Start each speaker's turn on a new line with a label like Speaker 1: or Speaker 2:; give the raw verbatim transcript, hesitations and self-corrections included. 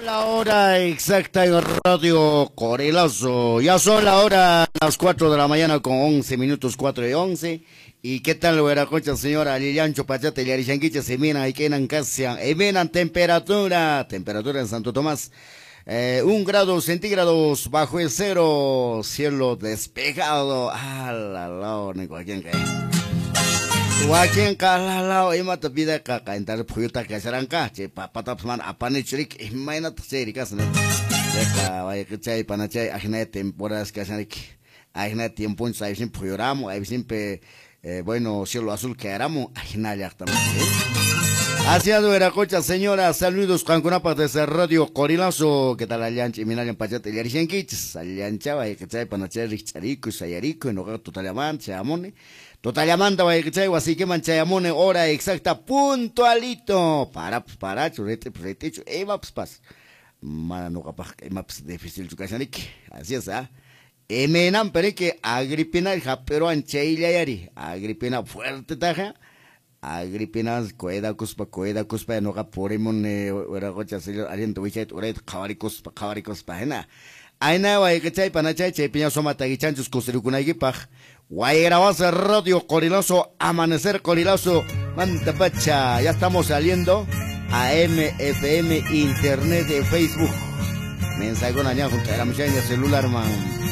Speaker 1: La hora exacta en Radio Qorilazo. Ya son la hora, las cuatro de la mañana con once minutos, cuatro y once. ¿Y qué tal, hueracocha, señora? Lillancho, Pachate, Yarishanquicha, Semina, Iquenan, Casian, Emenan, temperatura, temperatura en Santo Tomás, eh, un grado centígrados bajo el cero, cielo despejado. Ah, la, la, ni cualquier que. Wakin kalalao imata vida kakaintar phuyuta kasharanka chay papatapas mana apanichurik imaynataq chayri kashan chayqa wayqichay panachay ajinaya temporadas kashanriki ajinaya tiemponchus aysinpi phuyuramun aysinpi eh, bueno cielo azul quedaramun ajina llaqtaman. Así es, Hueracocha, señora, saludos qankunapaq desde Radio Qorilazo. ¿Qué tal allancha iminallan pachata illarishankichis? Allancha wayqichay panachay rikch'arikuy sayarikuy noqaqa tutallamanta chayamuni. Totallamanta wayqichay wasiykiman chayamuni hora exacta puntualito. Parapas parachu, ritipas ritichu, imapas pas. Mana noqapaq imapas difícilchu kashaniki. Así es, ¿ah? Imaynanpi riki Agripina hap'iruwan chayllayari. Agripina fuerte taja. Agripina cuidakuspa cuidakuspa noqa purimuni Hueracocha señor allinta wichayta urayta qhawarikuspa qhawarikuspa hina. Ayna wayqichay panachay chaypiña suma taqichanchus kusirikunaykipaq. Guayrabaza Radio Qorilazo, Amanecer Qorilazo, Mantapacha. Ya estamos saliendo a M F M, Internet de Facebook. Mensaje con allá junto a la muchacha celular, man.